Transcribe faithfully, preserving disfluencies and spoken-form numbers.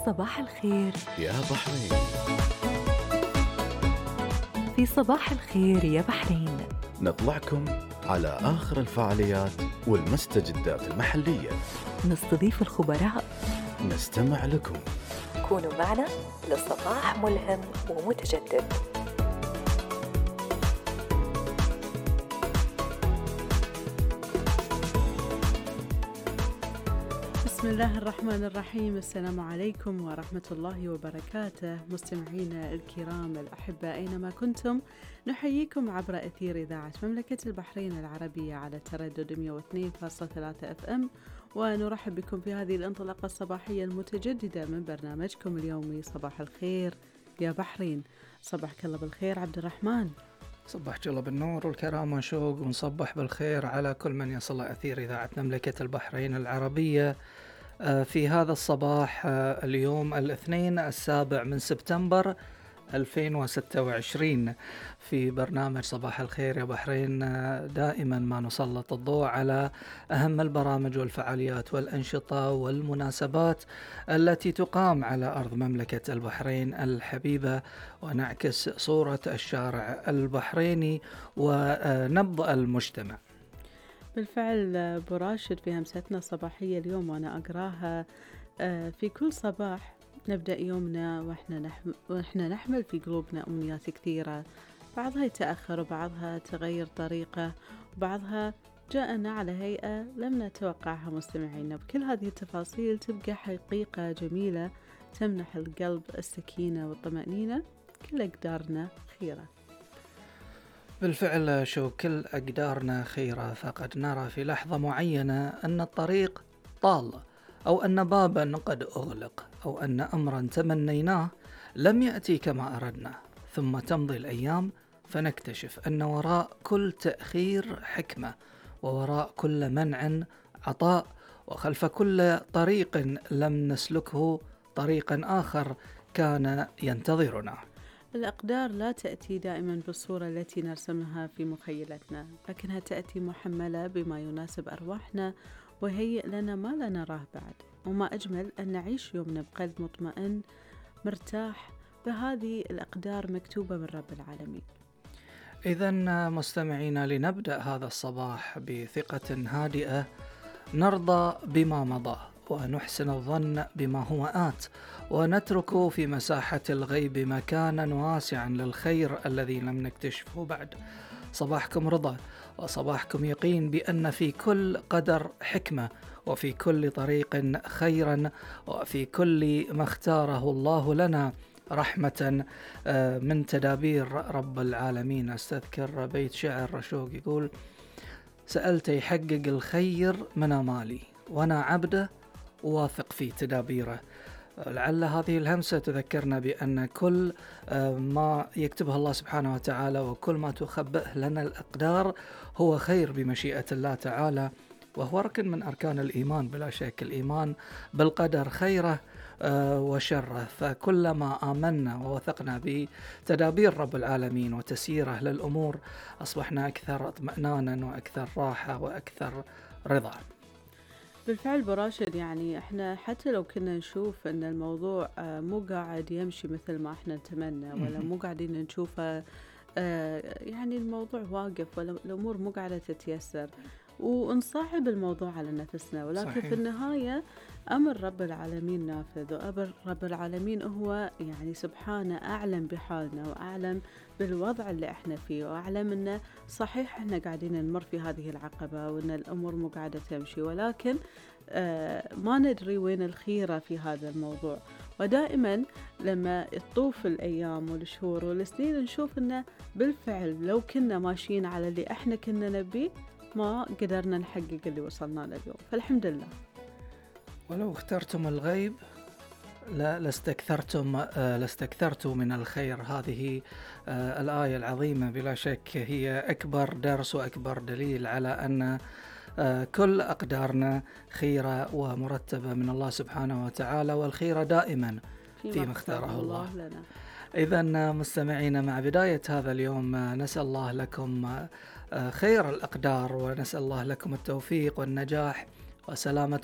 صباح الخير يا بحرين. في صباح الخير يا بحرين نطلعكم على آخر الفعاليات والمستجدات المحلية، نستضيف الخبراء، نستمع لكم. كونوا معنا لصباح ملهم ومتجدد. بسم الله الرحمن الرحيم. السلام عليكم ورحمة الله وبركاته. مستمعينا الكرام الأحباء أينما كنتم، نحييكم عبر أثير إذاعة مملكة البحرين العربية على تردد مئة واثنين فاصلة ثلاثة أف أم، ونرحب بكم في هذه الانطلاقة الصباحية المتجددة من برنامجكم اليومي صباح الخير يا بحرين. صباحك الله بالخير عبد الرحمن. صبحك الله بالنور والكرامة شوق، ونصبح بالخير على كل من يصل أثير إذاعة مملكة البحرين العربية في هذا الصباح اليوم الاثنين السابع من سبتمبر ألفين وستة وعشرين. في برنامج صباح الخير يا بحرين دائما ما نسلط الضوء على أهم البرامج والفعاليات والأنشطة والمناسبات التي تقام على أرض مملكة البحرين الحبيبة، ونعكس صورة الشارع البحريني ونبض المجتمع. بالفعل براشد في همستنا الصباحية اليوم وأنا أقراها، في كل صباح نبدأ يومنا وإحنا نحمل, وإحنا نحمل في قلوبنا أمنيات كثيرة، بعضها يتأخر وبعضها تغير طريقة وبعضها جاءنا على هيئة لم نتوقعها. مستمعينا بكل هذه التفاصيل تبقى حقيقة جميلة تمنح القلب السكينة والطمأنينة. كل أقدارنا خيرة. بالفعل شو كل أقدارنا خيرة، فقد نرى في لحظة معينة أن الطريق طال، أو أن بابا قد أغلق، أو أن أمرا تمنيناه لم يأتي كما أردنا، ثم تمضي الأيام فنكتشف أن وراء كل تأخير حكمة، ووراء كل منع عطاء، وخلف كل طريق لم نسلكه طريقا آخر كان ينتظرنا. الأقدار لا تأتي دائما بالصورة التي نرسمها في مخيلتنا، لكنها تأتي محملة بما يناسب أرواحنا وهيئ لنا ما لا نراه بعد. وما أجمل أن نعيش يومنا بقلب مطمئن مرتاح بهذه الأقدار مكتوبة من رب العالمين. إذن مستمعينا، لنبدأ هذا الصباح بثقة هادئة، نرضى بما مضى ونحسن الظن بما هو آت، ونترك في مساحة الغيب مكانا واسعا للخير الذي لم نكتشفه بعد. صباحكم رضا وصباحكم يقين بأن في كل قدر حكمة، وفي كل طريق خيرا، وفي كل ما اختاره الله لنا رحمة من تدابير رب العالمين. استذكر بيت شعر رشوق يقول: سألت يحقق الخير من أمالي، وأنا عبده واثق في تدابيره. لعل هذه الهمسة تذكرنا بأن كل ما يكتبه الله سبحانه وتعالى وكل ما تخبئه لنا الأقدار هو خير بمشيئة الله تعالى، وهو ركن من أركان الإيمان بلا شك، الإيمان بالقدر خيره وشره. فكلما آمنا ووثقنا بتدابير رب العالمين وتسييره للأمور أصبحنا أكثر اطمئنانا وأكثر راحة وأكثر رضا. بالفعل براشد، يعني احنا حتى لو كنا نشوف ان الموضوع مو قاعد يمشي مثل ما احنا نتمنى، ولا مو قاعدين نشوفه يعني الموضوع واقف، ولا الامور مو قاعدة تتيسر، ونصعب الموضوع على نفسنا، ولكن صحيح. في النهاية أمر رب العالمين نافذ، وأمر رب العالمين هو يعني سبحانه أعلم بحالنا وأعلم بالوضع اللي احنا فيه، وأعلم أنه صحيح احنا قاعدين نمر في هذه العقبة وأن الأمور مو قاعدة تمشي، ولكن آه ما ندري وين الخيرة في هذا الموضوع. ودائما لما تطوف الأيام والشهور والسنين نشوف أنه بالفعل لو كنا ماشيين على اللي احنا كنا نبيه ما قدرنا نحقق اللي وصلنا له اليوم، فالحمد لله. ولو اخترتم الغيب لا لاستكثرتم آه لاستكثرتم من الخير. هذه آه الآية العظيمة بلا شك هي أكبر درس وأكبر دليل على أن آه كل أقدارنا خيرة ومرتبة من الله سبحانه وتعالى، والخيرة دائما فيما اختاره الله, الله لنا. إذن مستمعين، مع بداية هذا اليوم نسأل الله لكم خير الأقدار، ونسأل الله لكم التوفيق والنجاح وسلامة